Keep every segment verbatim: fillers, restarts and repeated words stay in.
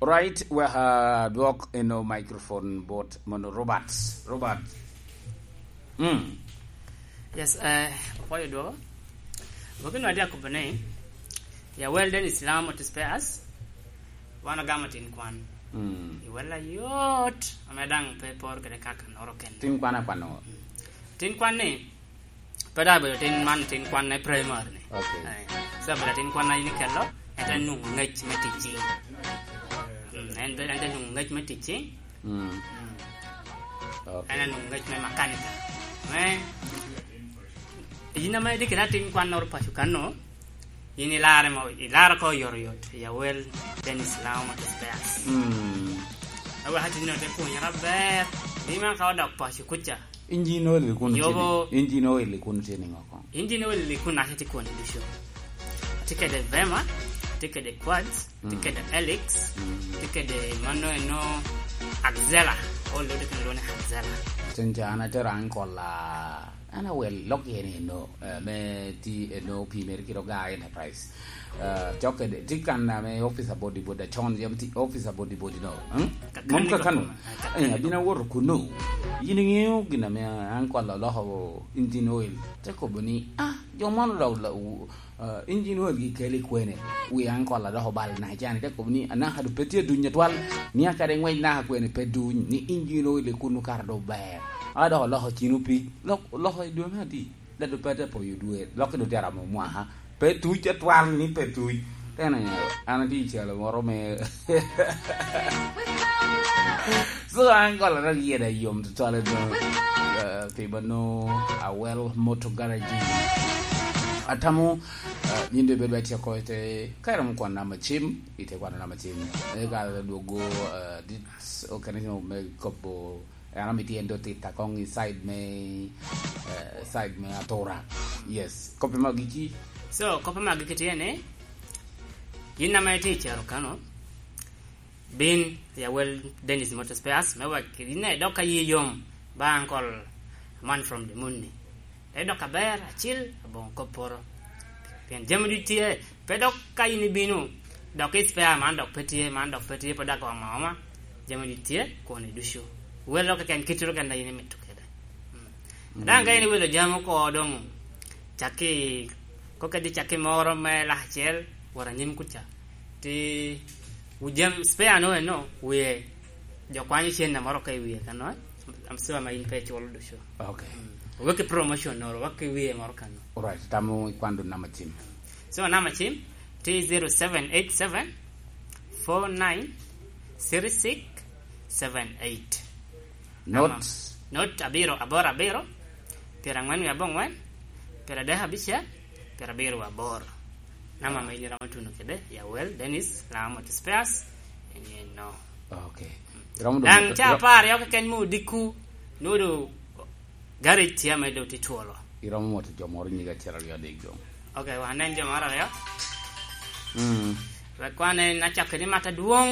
Right, we ha dwok eno microphone bot mono Robert. Robert. Mm. Yes, eh, apwoyo dwoko. Gwoki nwa dya kubo ni, ya well done Islam otis pe as, wan ogamo tin kwan. Mm. I wella yot, ame daŋ pe por kede kaka noro kende. Tin kwan akwano. Mm. Tin kwan ni, pe daŋ bedo tin man, tin kwan na i primary ni. Okay. Eh, so bedo tin kwan na in ikelo, en te nwoŋo ngec me tic cing. Mm, en te, en te nwoŋo ngec me tic cing. Mm. Mm. Okay. En anwoŋo ngec me makanika. Me, yin ame itye kede atin kwannoro paco kanno, yin ilarre mo, ilarre ko oyotoyot, ya well Dennis Laoma Kipeas. Mm. Awek atinno te pwonyere aber, ni man ka odok paco kuca. Engine oil kun Yobo. Tye ni, engine oil kun tye ni ŋo koŋ? Engine oil kun naka tye kun ducu. Atye kede Vema, atye kede Quartz, atye Mm. kede Helix, Mm. atye kede mano eno Axela. Olo tye kede lwone Axela. Tin ca an atero an kola, an awel lok yen eno, eh, me ti eno pi mere kiro ga Enterprise. Eh, cok kede, ti kan ame officer body body, acon yam ti officer body body no. Hmm? Ka-, Mom kan kakano. Ka-, ka-, Eh, abin awoto kuno. Yin iŋeo gin ame an kola oloko engine oil. Te kobo ni, "Ah, jo mono dok la-, u-, eh, engine oil gi keli kwene?" Wi an kola dok obal na can. Te kobo ni, "Anaka du pe tye duny atwal. Ni akade ngwec naka kwene pe duny. Ni engine oil i kuno kara do ber." A dok oloko cino pi. Lok-, oloko i dwe me adi? Dado pe te poyo dwe, lokke doŋ tye aromo mwaka. Pe tuc atwal ni pe tuc. Tena, an atye i calo moro me. So, an kola dok yeda yom tutwal doŋ, eh, pi mano, Awel Motor Garage. Atamo, eh, yin doŋ ibedo atye oko ite, ka iromo kwano namba cim, ite kwano namba cim. Eka dwogo, eh, dit, okene me kobo En amito en doŋ titta koŋ i side me, eh, side me atura. Yes. Koppe me agikki. So, koppe me agikki tye ni, yin ame itye i caro kano, bin ya wel Dennis Motor Spares, me wek yin idok ka yi yom, ba Uncle Man from the Moon ni. Te dok aber, acil, aboŋo kop poto. Pien jami duc tye, pe dok ka yin ibino, dok i spare man dok pe tye, man dok pe tye, pe dok ooma ooma. Jami duc tye, koni ducu. Wel dok keken, kit ru keken a yin imito kede. Mm. Mm. Daŋ ka yin iwelo jami oko doŋ, cakki, ko kadi cakki moro me lak acel, wot anyim kuca. Ti, wu jam, spare no eno, wie, jo kwanyo cen na moro ka i wie kano, am sure ma in pe iculo ducu. Okay. Mm. Wek i promotion noro, wek i wie moro kano. Alright, tamo ikwando nama cim. So, nama cim, ti zero seven eight seven, four nine, three six, seven eight. Not. Not abiro, aboro abiro, pyerangwen wie abongwen, pyeradek abicel, pyerabiro wie aboro. Nama ma in iromo tuno kede, ya wel, Dennis, Laŋo Motor Spares, en yen no. Okay. Iromo doŋ Daŋ ca apar yo keken mo odikku, nwodo garage tye ame doŋ tye twolo. Iromo moto jo moro nyige acel aryo adek doŋ. Okay, wan nen jo moro aryo. Mm. Wek wan en acakki ni mat adwoŋ,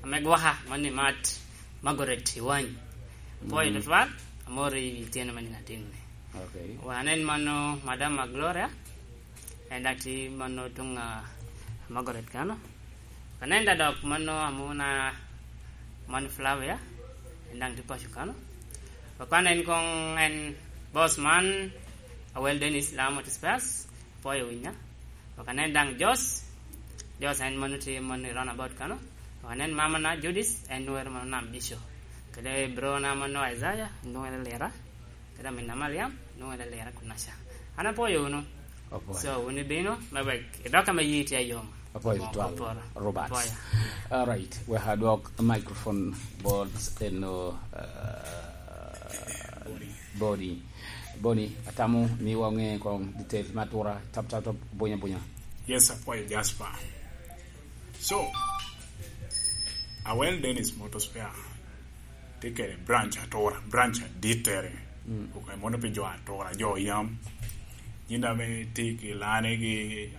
ame gwaka, mani mat Margaret Iwany. Apwoyo Mm. tutwal, amor i tyeno me nino atin ni. Okay. Wan en mano Madam Gloria, en daŋ tye mano tuŋ, ah, Margaret kano. Kanenda dok mano amuna man Flavia, en daŋ tye paco kano. Wakwan en koŋ en boss man, Awel Dennis, Laŋo Motor Spares, apwoyo winya. Wakanen daŋ Jos, Jos en mano tye mano i runabout kano. Wakanen mamana Judith, en nwero mano Nam Bico. Kede brona mano Isaiah, nwero Lira. Kede aminna Mariam, nwero Lira kunaca. An apwoyo wunu. Apwoyo. So, wun ibino, me wek idok ame yi tye ayom. Apwoyo Mo tutwal, apwoyo. Robert. Apwoyo. All right, we ha dwok microphone board eno, uh, Boni. Boni, atamo ni waŋe koŋ details me atura, tap, tap, tap, bunya, bunya. Yes, apwoyo Jasper. So, Awel Dennis Motor Spare tye kede branch atura, branch adittere. Mm. Ok, mono pi jo atura, jo yam. Yin ame tye ki lane gi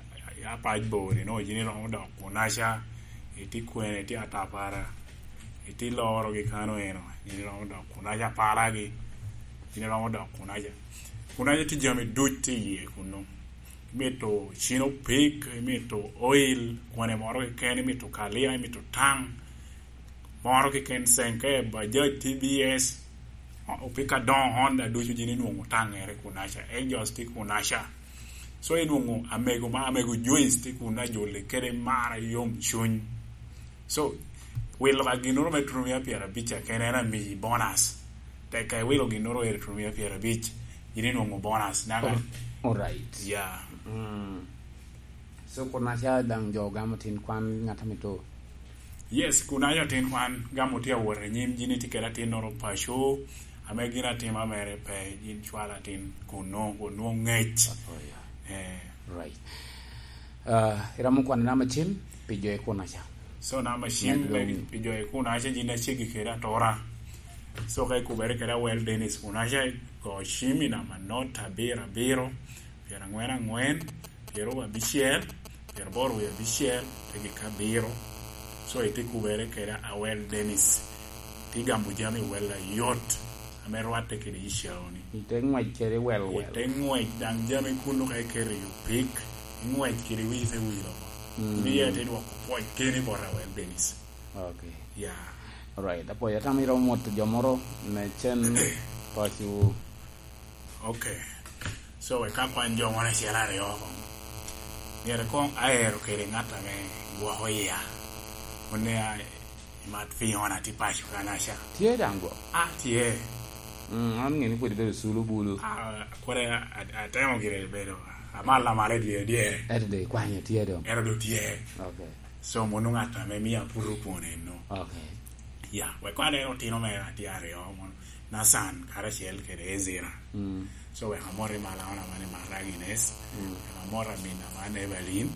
apac bor, ino, yin iromo dok kunaca, itye kwene, itye atapara, itye loro gi kano eno, yin iromo dok kunaca palagi, yin iromo dok kunaca. Kunaca tye jami duc tye iye kunnu. Imito cino pig, imito oil, kwene moro keken, imito kalia, imito taŋ, Moro keken, Senke, Bajaj, T B S, opika doŋo, Honda, ducu gin inwoŋo taŋere kunaca, Ejos tye kunaca. So inwoŋo amego ma, amego Joyce tye kun ajole kede mara yom cuny. So wilo ka ginnoro me tuno mia pyerabic akene en amiyi bonus. Tek ka iwilo ginnoro ere tuno mia pyerabic, gin inwoŋo bonus. Naga. Alright. Yeah. Mm. So kunaca daŋ jo gamo tin kwan ŋat a mito? Yes, kunaca tin kwan gamo tye awot anyim, gin itye kede atinnoro paco, ame gin atima mere pe, gin cwalo atin kunno, onwoŋo ŋec. Oh, yeah. Eh. Right. Uh, iramo kwan namba cim pi jo i kunaca? So namba cim pi jo i kunaca, gin acegi kede atura. So ka ikubere kede Awel Dennis kunaca, go cim i namba not abiro abiro, pyeraŋwen aŋwen, pyeraryo abicel, pyeraboro wie abicel, tegi ka abiro. So ite kubere kede Awel Dennis. Ti gamo jami wel ayot ame rwatte kede i cawoni. Ite ŋwec kede wel wel. Ite ŋwec daŋ jami kunnu ka iketo i opik, iŋwec kede wiyi te wil oko. Mm. Wiye te dwoko pwoc keni bot Awel Dennis. Okay. Yeah. Alright. Apoya, tam iromo mot jo moro me cen paco. Okay. So wek ka kwan jo moro acel aryo oko. Myero koŋ aero kede ŋat ame gwoko iya. Onea imat Fiona ti paco kanaca. Tye daŋ go? Ah, tye. Mm, an ŋeni pwod ibedo sulu bulu. Ah, kore a-, a-, atemo gire bedo amal amal i dyere dyere. Ento do ikwanyo tye doŋ? Ento do tye. Okay. So mono ŋat ame mia aputo kwon eno. Okay. Ya, wek kwan en otino mere atye aryo, mono Nathan karacel kede Ezra. Mm. So wek amot i Malaona mane Mara Agnes. Mm. Wek amot amin aman Evelyn.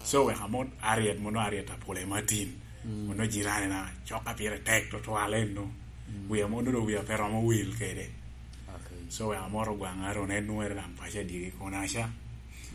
So wek amot Ariet, mono Ariet Apole Martin. Mm. Mono jirani na coka pire tek tutwal eno. Mm. Wia mono do wia pe romo wil kede. Okay. So wek amot Ogwaŋ Aron, en nwere daŋ paco adyegi kunaca.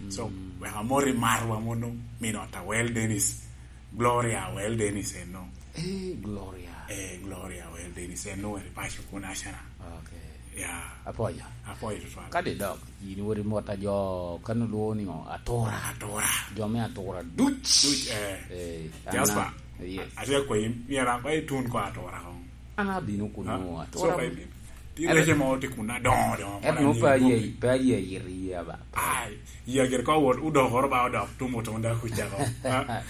So, mm, wek amot i marwa mono, min ot Awel Dennis. Gloria Awel Dennis eno. Eh, Gloria. Eh, Gloria Awel Dennis eno, eri paco kunaca na. Okay. Ya. Apoya. Apoya tutwal. Kadi dok, yin wori mot a jo kan olwo ni ŋo? Atura. Atura. Jo me Atura duc. Duc, eh. Eh, Jasper. Ana, yes. Atye akwayi, myero an kong itun ko Atura kong. An abino kuno, ha? Atura. So, ka ibino. Ti rece mo ti kun adoŋo doŋo. Ento pe aye, pe aye yit iya ba. Ai, iya gire ko wot, odokoro ba odok tum otonda kuca ko. Ha?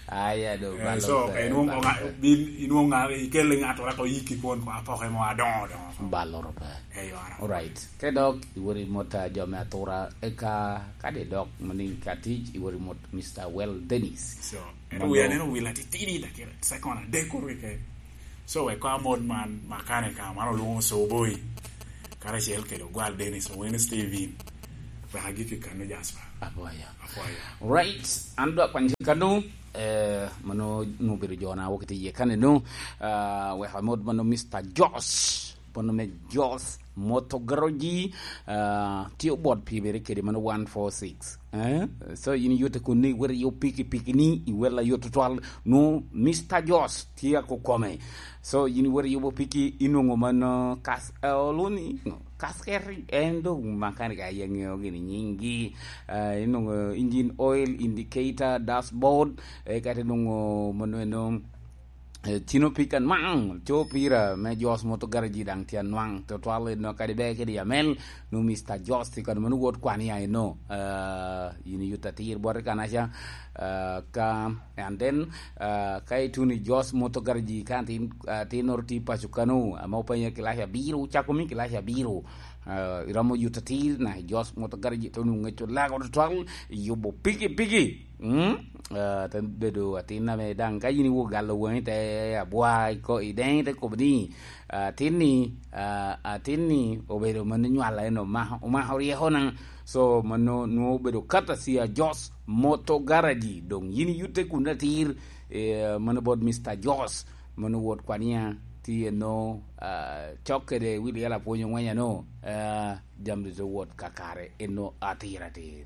Aya do. Eh, balo so, pe, ka inwoŋo balo ŋa-, pe. Bin, inwoŋo ŋa-, ikelle ŋat ora ko yiki kwon ko apoke mo adoŋo doŋo. Balo ro pe. Eh, yora. Alright. Ke dok, iwori mot a jo me Atura, eka, kadi dok, mani ka tic, iwori mot Mister Well Dennis. So, ento wi aneno wil atitidi, dakika, second adek kuru keken. So, wek ko amot man, makanika, man olwoŋo Soboi, karacel kede Ogwal Dennis, Owene Steven, wek agik i kano Jasper. Apwoyo. Apwoyo. Right, an dwa kwany kano, eh, mano, no bedo jona wok ite ye kane no, ah, wek amot mano Mister Josh, mano me Josh Motor Garage, ah, tye obot pi bere kede mano one four six. Eh? So, yin yute kun ni iwero yo piki piki ni, iwela yo tutwal, no, Mister Josh tye ako kome. So, yin iwero yubo piki, inwoŋo mano kas-, eh, oluni, kasketi, en dong makanika aye ŋeo gini nyinggi. Eh, inwoŋo engine oil, indicator, dashboard, eh, kati inwoŋo mano eno, eh, tino pika nwaŋ, co pira me Josh Motor Garage daŋ tye anwaŋ, tutwal eno kadi ber kede Amel, no Mister Josh tye kano mano wot kwan iya eno, eh, yin iyut atir bot i kanaca, eh, ka, and then, eh, ka ituno i Josh Motor Garage ka tin, eh, tinnoro tye paco kano, ame openya kilac abiro, ocako mi kilac abiro, eh, iromo yut atir na i Josh Motor Garage, to nwoŋo ŋec olago tutwal, iyubo piki piki. Mm? Ah, te bedo atin ame daŋ ka yin iwok galo waŋi te abwa iko-, i deŋi te kobo ni, ah, atin-ni, ah, atin-ni obedo mano nywala en omako, omako ryeko na. So, mano nwoŋo obedo kata cia Jos Moto Garaji. Doŋ yin iyutte kun atir, eh, mano bot Mister Jos, mano wot kwania tye eno, ah, cok kede Willy Yala pwonyo ŋwenya no, ah, jami te wot kakare eno atir atir.